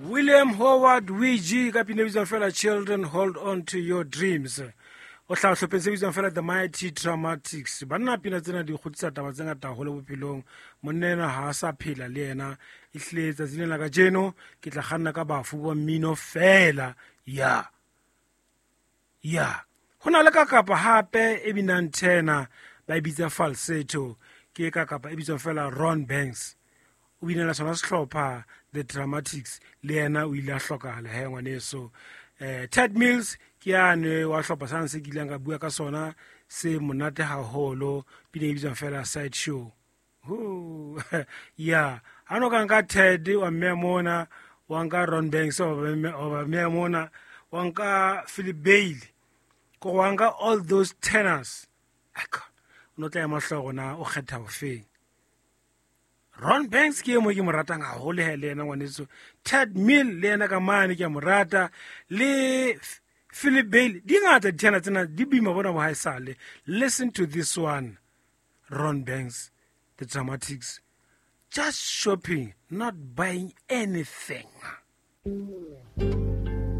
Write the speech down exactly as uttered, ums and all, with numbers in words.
William Howard Weegee ka pina e bitswang fela Children Hold On To Your Dreams. O hlaha sehlopheng se bitswang fela The Mighty Dramatics. Banna, pina tsena di kgutlisa taba tse ngata haholo bophelong. Monna enwa ha a sa phela le yena. Ehlile tsatsing lena la kajeno ke tla kganna ka bafu ba mmino fela. Ya ya ho na le ka kapa hape e binang tenor, ba e bitsa falsetto, ke ka kapa e bitswang fela Ron Banks. O binela sona sehlopha The Dramatics, le yena o ile a hlokahala he ngwaneso. eh Ted Mills ke yane wa hlopha sana se kileng ka bua ka sona, se monate haholo, pina e bitswang fela Side Show. Ho ya ha no ka nka Ted wa mme mona, wa nka Ron Banks wa ba mme mona, wa nka Philip Bailey, ko wa nka all those tenors, aka o no tla ema hlooho na o kgetha ofeng. Ron Banks ke e mo ke mo ratang haholo he le yena ngwaneso. Ted Mill le yena ka mane ke a mo rata, le Philip Bailey. Di ngata di-tenor tsena, di boima bona bo haesale. Listen to this one, Ron Banks, The Dramatics, Just Shopping, Not Buying Anything.